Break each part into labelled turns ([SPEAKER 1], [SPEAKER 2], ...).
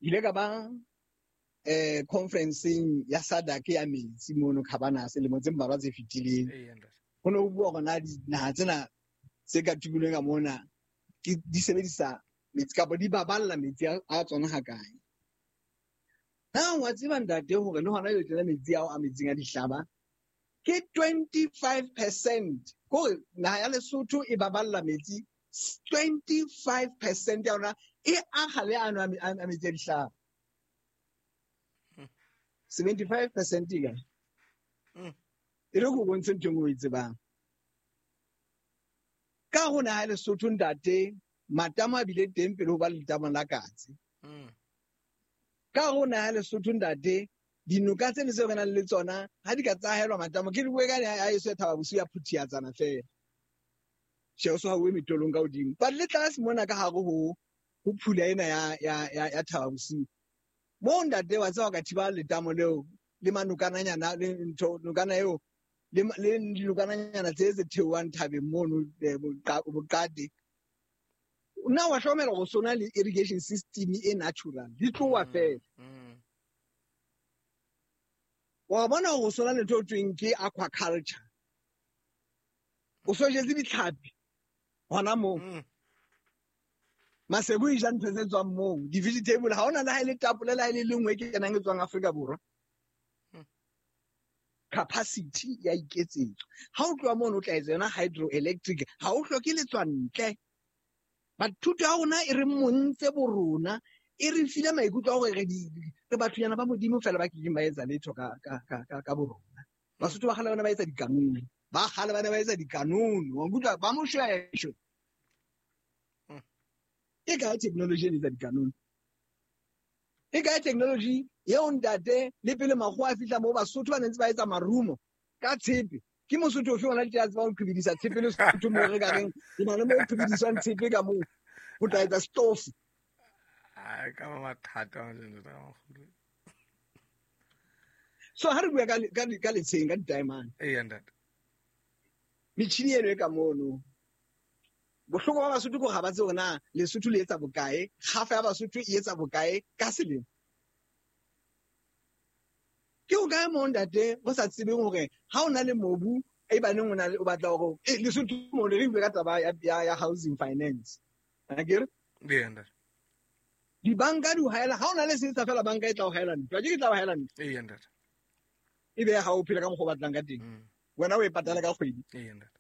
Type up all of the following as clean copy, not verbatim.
[SPEAKER 1] Ile ka ba conferenceng ya SADC ya metsi mono Cabanas lemo tse mmalwa tse fetileng. Ho ne ho bua hore na dinaha tsena tse ka tumelong ka mona ke di sebedisa metsi kapa di baballa metsi a tsona hakae. Na wa tseba ntate hore le hona jwale tjena metsi ao a metsing a dihlaba ke 25%, kore naha ya Lesotho e baballa metsi 25% ya yona e akga le ano a metsi a dihlaba. 75% e kae? E re ko bontshe ntho e nngwe o e tsebang. Ka ho naha ya Lesotho ntate, matamo a bile teng pele ho ba le letamo la Katse. Ka ho naha ya Lesotho ntate, dinoka tsene tseo re nang le tsona ha di ka tsahelwa matamo, ke di bue ka ya eso ya Thaba Bosiu ya Phuthiatsana fela. Tjhe, o so hauwe metolong ka hodimo. But le tlase mona ka hare ho phula ena ya Thaba Bosiu. Moo ntate wa tseba ka thiba letamo leo le manokananyana le ntho nokana eo le dinokananyana tse tse theohang thabeng mono boqate. Nna wa hlokomela hore sona le irrigation system e natural di tloha fela. Wa bona hore sona le ntho e thweng ke aquaculture. O so jetse ditlhapi hona moo. Maseko e ja ntho tse tswang moo, di-vegetable ha hona le ha e le tapole le ha e le lengwe e kenang e tswang Afrika Borwa. Capacity ya iketsetswa. Ha o tloha mono o tla etsa yona hydroelectric, ha o hloke letswa ntle. But thuto ya rona e re montse bo rona, e re file maikutlo a hore re bathonyana ba Modimo fela ba kekeng ba etsa letho ka bo rona. Basotho ba kgale ba ne ba etsa dikanone. Ba kgale ba ne ba etsa dikanone. Wa nkutlwa? Ba Moshweshwe. E kae technology e etsa dikanone? E kae technology eo ntate le pele makgowa a fihla moo Basotho ba ne ntse ba etsa marumo ka tshepe? Ke Mosotho ofe ona tje a tsebang ho qhibidisa tshepe le Sotho moo re ka reng re na le moo qhibidiswang tshepe ka moo ho tla etsa stove?
[SPEAKER 2] Ai, ka ba mathata a jeno ka makgolo.
[SPEAKER 1] So ha re bua ka letsheng ka di-diamond.
[SPEAKER 2] Eya ntate.
[SPEAKER 1] Metjhini eno e ka mono. Bohloko ba Basotho ke hore ha ba tsebe hore na Lesotho le etsa bokae, kgafa ya Basotho e etsa bokae ka selemo. Ke hokae moo ntate go sa tsebeng hore ha o na le mobu e baneng o na le o batla hore Lesotho mo re bue ka taba ya housing finance. Akere?
[SPEAKER 2] Eya ntate.
[SPEAKER 1] Dibanka di o haela, ha o na le setsha fela banka e tla o haela ntlo. Ke tla o haela ntlo.
[SPEAKER 2] Eya ntate.
[SPEAKER 1] E be ha o phela ka mokgwa o batlang ka teng. Wena o e patala ka kgwedi.
[SPEAKER 2] Eya ntate.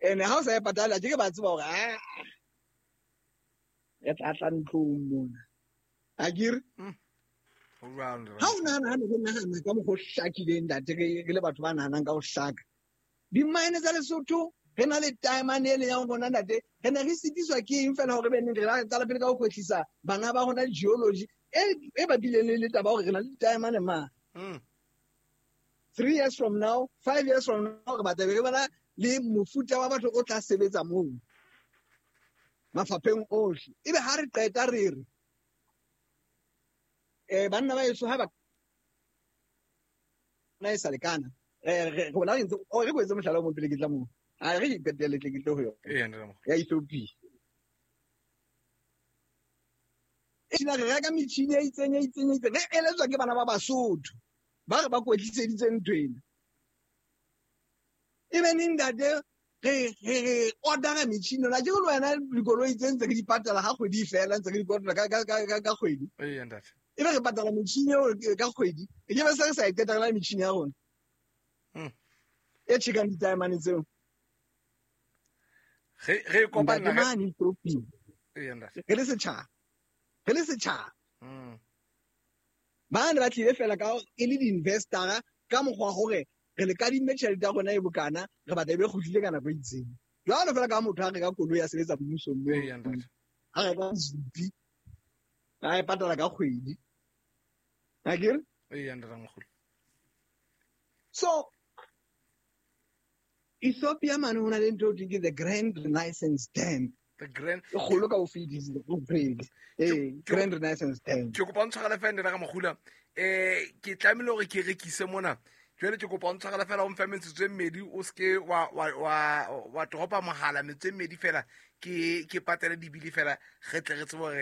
[SPEAKER 1] Ene ha o sa e patala ke ba tseba hore re tla tla ntlong mona. Akere?
[SPEAKER 2] Ho jwalo,
[SPEAKER 1] Ha o nahana, ha ne re nahana ka mokgwa o hlakileng ntate, re le batho ba nahanang ka ho hlaka. Di-mine tsa Lesotho, re na le diamond e leng ya rona ntate, re ne re sitiswa ke eng fela hore be neng re la qala pele ka ho kwetlisa bana ba rona geology e bapileng le taba hore re na le diamond ma. 3 years from now, 5 years from now, re batla be re bona le mofuta wa batho o tla sebetsa moo mafapheng ohle. Ebe ha re qeta re re banna ba heso ha ba na e sa lekana, re bona re ntse, oh, re kwetse mohlala o mong pele ke tla moo. A re ke qetelle tle ke tle ho yona.
[SPEAKER 2] Ee, ntate Mokgwa.
[SPEAKER 1] Ya Ethiopia. E tjena re reka metjhini e itseng, e itseng, e itseng. Re eletswa ke bana ba Basotho ba re ba kwetliseditse ntho ena. E be neng ntate re order-a metjhini yona. Ke le wena dikoloi tse ntse re di patala ha kgwedi e fela, ntse re di patala ka kgwedi.
[SPEAKER 2] Ee, ntate.
[SPEAKER 1] E be re patala metjhini eo ka kgwedi. E ke be se re sa e qeta re na le metjhini ya rona. E tjhekang ditaemane tseo.
[SPEAKER 2] Re kopana
[SPEAKER 1] Ntate mane Ethiopia.
[SPEAKER 2] Ee, ntate.
[SPEAKER 1] Re le setjhaba. Re le setjhaba. Ba ne ba tlile fela ka e le di-investor-a ka mokgwa wa hore re le kadimme tjhelete ya rona e bokana, re batla e be kgutlile ka nako e itseng. Jwalo fela ka motho a reka koloi ya sebetsa mmusong moo.
[SPEAKER 2] Ee, ntate.
[SPEAKER 1] A reka Zupi, a e patala ka kgwedi. Akere?
[SPEAKER 2] Ee, ntate Mokgolo.
[SPEAKER 1] So Ethiopia mane ho na le ntho e thweng ke the Grand Renaissance Dam.
[SPEAKER 2] The Grand
[SPEAKER 1] E kgolo ka ho fetisisa Afrika. Grand Renaissance Dam.
[SPEAKER 2] Ke kopa o ntshwarele fela ntate Ramokgula. Ke tlamehile hore ke rekise mona. Jwale ke kopa o ntshwarele fela o mfe metsotso e mmedi, o seke wa dropa mohala metsotso e mmedi fela, ke patele dibili fela, re tle re tsebe hore